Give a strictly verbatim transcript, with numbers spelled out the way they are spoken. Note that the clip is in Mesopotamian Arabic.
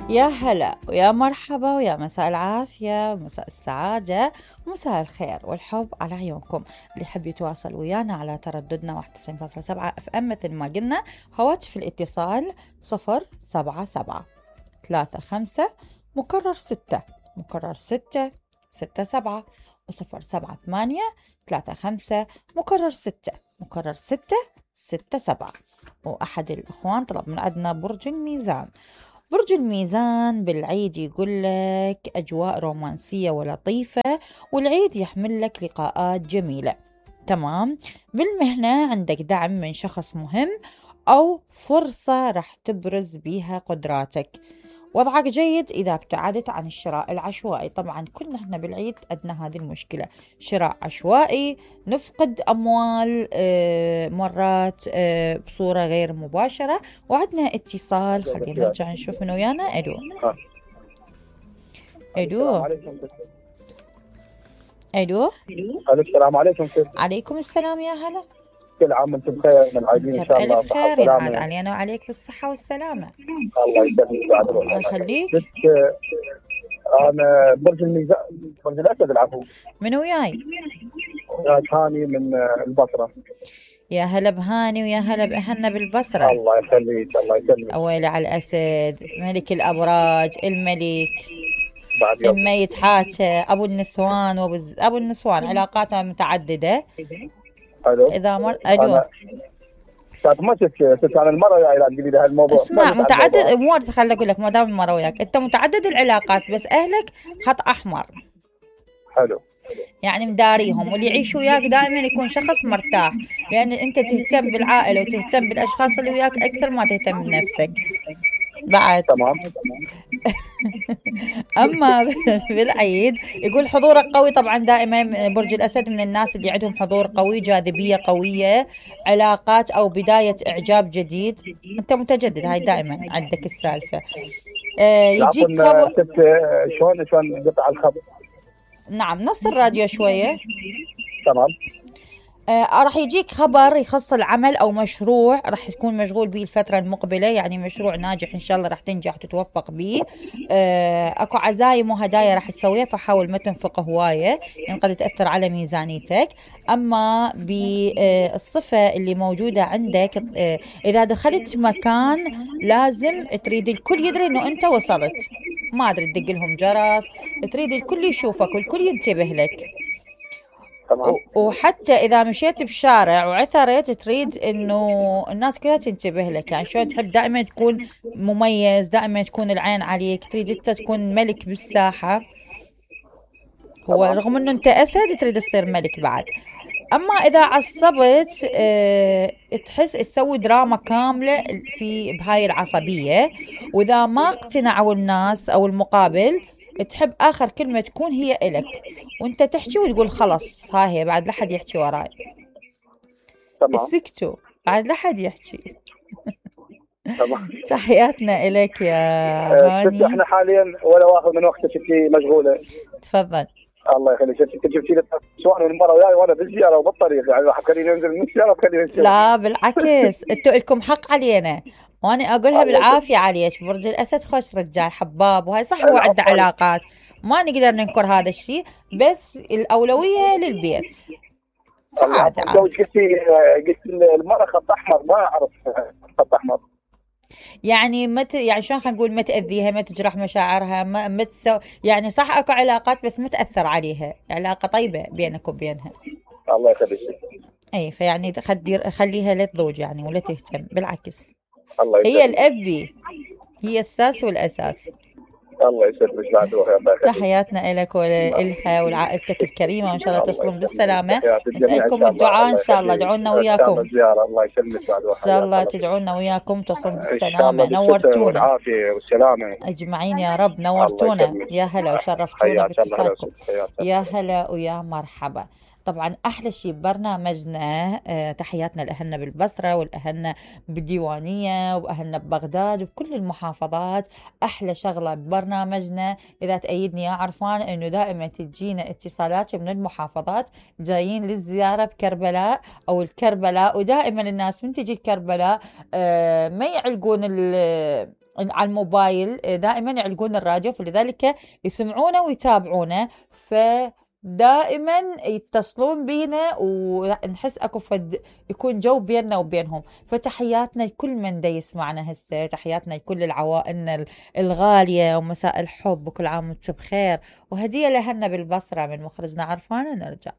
يا هلا ويا مرحبا ويا مساء العافية ومساء السعادة ومساء الخير والحب على عيونكم. اللي يحب يتواصل ويانا على ترددنا واحد وتسعين فاصلة سبعة اف ام مثل ما قلنا، هواتف الاتصال صفر سبعة سبعة ثلاثة خمسة مكرر ستة مكرر ستة ستة سبعة وصفر سبعة ثمانية ثلاثة خمسة مكرر ستة مكرر ستة ستة سبعة. وأحد الإخوان طلب من عندنا برج الميزان. برج الميزان بالعيد يقول لك أجواء رومانسية ولطيفة، والعيد يحمل لك لقاءات جميلة. تمام. بالمهنة عندك دعم من شخص مهم أو فرصة رح تبرز بيها قدراتك. وضعك جيد إذا ابتعدت عن الشراء العشوائي. طبعا كلنا احنا بالعيد عندنا هذه المشكلة، شراء عشوائي، نفقد أموال اه مرات اه بصورة غير مباشرة. وعندنا اتصال، خلينا نرجع نشوف من ويانا. ألو ألو ألو السلام عليكم. عليكم السلام يا هلا. كل عام وانتم بخير، من عايدين ان شاء الله. بألف خير ينعاد علينا وعليك بالصحة والسلامة. الله يسلمك. الله يخليك. انا برج الميزان، برج الاسد. العفو. من وياي؟ وياي هاني من البصرة. يا هلا بهاني ويا هلا بأهلنا بالبصرة. الله يخليك. الله يسلمك. أويلي على الأسد، ملك الأبراج، الملك الميت حاجة، أبو النسوان وبز... أبو النسوان علاقاته متعددة. ألو. إذا مر ألو طيب ما شفت عن المرة يا تقولي لي هالموضوع. اسمع، متعدد أمور. خلي أقول لك، ما دام المرة وياك أنت متعدد العلاقات، بس أهلك خط أحمر. حلو. يعني مداريهم، واللي يعيش وياك دائما يكون شخص مرتاح، لأن أنت تهتم بالعائلة وتهتم بالأشخاص اللي وياك أكثر ما تهتم بنفسك بعد. تمام. أما بالعيد يقول حضورك قوي. طبعا دائما برج الأسد من الناس اللي عندهم حضور قوي، جاذبية قوية، علاقات أو بداية إعجاب جديد. أنت متجدد، هاي دائما عندك السالفة. آه يجيك خبر. شلون شلون قطع الخط؟ نعم، نص الراديو شوية. تمام. آه راح يجيك خبر يخص العمل أو مشروع راح تكون مشغول به الفترة المقبلة، يعني مشروع ناجح إن شاء الله راح تنجح وتتوفق به. آه أكو عزايم وهدايا راح تسويها، فحاول ما تنفق هواية يعني قد تأثر على ميزانيتك. أما بالصفة اللي موجودة عندك، آه إذا دخلت مكان لازم تريد الكل يدري إنه أنت وصلت، ما أدري تدق لهم جرس، تريد الكل يشوفك والكل ينتبه لك. تمام. وحتى إذا مشيت بشارع وعثرت تريد إنه الناس كلها تنتبه لك، يعني شلون تحب دائما تكون مميز، دائما تكون العين عليك، تريد أنت تكون ملك بالساحة. هو رغم إنه أنت أسد تريد تصير ملك بعد. أما إذا عصبت اه تحس تسوي دراما كاملة في بهاي العصبية، وإذا ما اقتنعوا الناس أو المقابل تحب آخر كلمة تكون هي إلك، وانت تحكي وتقول خلص ها هي بعد لحد يحكي وراي. تمام. اسكتوا بعد لحد يحكي. تمام. تحياتنا إليك يا هاني. احنا حاليا ولا واخذ من وقتك، انت مشغولة. تفضل. الله يخليك. انت جبتي لي سؤال من المره وياي وانا بالزياره وبالطريق، يعني راح تخليني انزل من السياره وتخليني انزل. لا بالعكس، انتوا لكم حق علينا، وانا اقولها بالعافيه عليك. برج الاسد خوش رجال حباب، وهي صح هو عنده علاقات، ما نقدر ننكر هذا الشيء، بس الاولويه للبيت. عادي. قلتي قلت المراه خط احمر، ما اعرف خط احمر. يعني مت يعني شلون خلينا نقول، ما تأذيها، ما تجرح مشاعرها، ما ما تسو يعني صح اكو علاقات بس ما تأثر عليها، علاقة طيبة بينك وبينها. الله يخليك. اي فيعني خدير خليها لا تضوج يعني ولا تهتم، بالعكس. الله هي الأبي، هي الساس والأساس. الله يسلمك بعد روحي. تحياتنا لك ولها ولعائلتك الكريمة، وإن شاء الله تصلون بالسلامة. نسألكم الدعاء إن شاء الله، دعونا وياكم الله يسلمك بعد روحي. إن شاء الله تدعونا وياكم تصلون بالسلامة. نورتونا والعافية والسلامة أجمعين يا رب، نورتونا. يا هلا وشرفتونا باتصالكم. يا هلا ويا مرحبا. طبعا أحلى شيء ببرنامجنا آه تحياتنا لأهلنا بالبصرة والأهلنا بالديوانية وأهلنا ببغداد وبكل المحافظات. أحلى شغلة ببرنامجنا إذا تأيدني يا عرفان إنه دائما تجينا اتصالات من المحافظات جايين للزيارة بكربلاء أو الكربلاء، ودائما الناس من تجي الكربلاء آه ما يعلقون على الموبايل دائما يعلقون الراديو، فلذلك يسمعونه ويتابعونه، فدائما يتصلون بينا ونحس اكو فد يكون جو بيننا وبينهم. فتحياتنا لكل من دا يسمعنا هسه، تحياتنا لكل العوائلنا الغالية، ومساء الحب وكل عام وانتم بخير، وهدية لهنا بالبصرة من مخرجنا عرفان ونرجع.